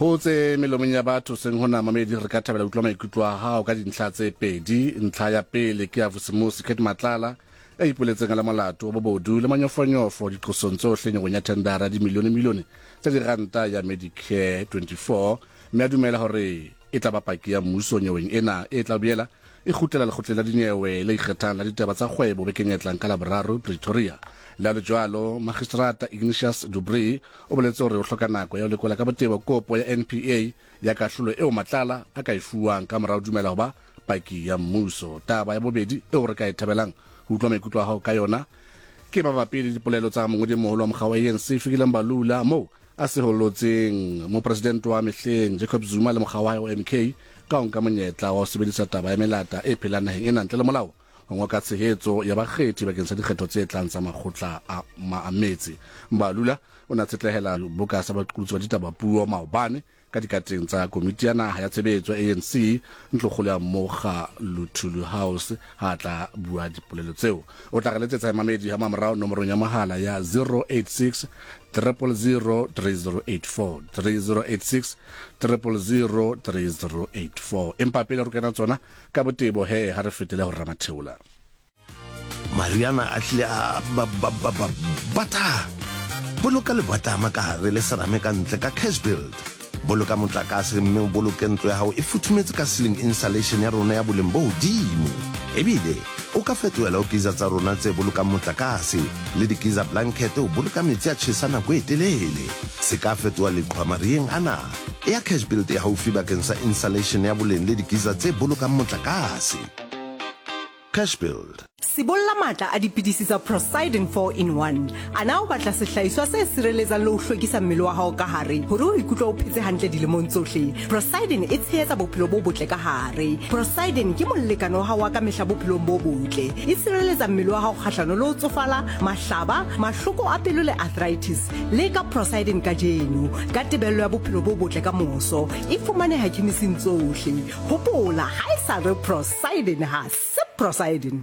Ho tse melomong ya batho seng hona mamedi re ka thabela utlwa maikutlo a hao ka dintlha tse pedi. Ntlha ya pele ke ya Vusimusi Cat Matlala ya ipoletseng a le molato wa bobodu le manyofonyofo diqosong tsohle nyeweng ya thendara ya dimilione-milione tsa diranta ya Medicare 24 mme a dumela hore e tla ba paki ya mmuso nyeweng ena e tla boela e kgutlela lekgotleng la dinyewe le ikgethang la ditaba tsa kgwebo bekeng e tlang ka Laboraro Pretoria. Le ha le jwalo, Magistrata Ignatius Dubree o boletse hore o hloka nako ya ho lekola ka botebo kopo ya NPA ya kahlolo eo Matlala a ka e fuwang ka mora ho dumela ho ba paki ya mmuso. Taba ya bobedi eo re ka e thabelang ho utlwa maikutlo a hao ka yona ke mabapi le dipolelo tsa mongodi-moholo wa mokga wa ANC Fikile Mbalula moo a seholotseng mopresidente wa mehleng Jacob Zuma le mokga wa hae wa MK ka ho nka monyetla wa ho sebedisa taba ya melata e phelang naheng ena ntle le molao ho ngoka tshehetso ya bakgethi bakeng sa dikgetho tse tlang tsa makgotla a a metse. Mbalula o ne a tshetlehela boka sa baqolotsi ba ditaba puo maobane ka dikateng tsa komiti ya naha ya tshebetso ya ANC ntlokgolo ya Mokga Luthuli House ha a tla bua dipolelo tseo. O tla re letsetsa mamedi ha mamorao nomorong ya mohala ya 086 000 3084 3086 000 3084. Empa pele re kena tsona ka botebo he ha re fetele ho Ramatheola. Mariana a hlile a ba ba ba ba bata. Boloka lebatama ka hare le serame ka ntle ka Cash Build. Boloka motlakase mme o boloke ntlo ya hao e futhumetse ka ceiling insulation ya rona ya boleng bo hodimo. Ebile o ka fetohela ho geyser tsa rona tse bolokang motlakase le di-geyser blanket ho boloka metsi a tjhesa nako e telele. Se ka fetoha leqhwa mariheng ana. Eya Cash Build e haufi bakeng sa insulation ya boleng le di-geyser tse bolokang motlakase. Cash Build. Sibolla matla a dipidisi tsa Procyden 4 in 1. A na o batla sehlahiswa se sireletsang le ho hlwekisa mmele wa hao ka hare hore o ikutlwe o phetse hantle dilemong tsohle? Procyden e tshehetsa bophelo bo botle ka hare. Procyden ke molekane wa hao wa kamehla bophelong bo botle. E sireletsa mmele wa hao kgahlano le ho tsofala, mahlaba, mahloko a pelo le arthritis. Leka Procyden kajeno ka tebello ya bophelo bo botle ka moso. E fumaneha khemising tsohle. Hopola, ha e sa re Procyden ha se Procyden.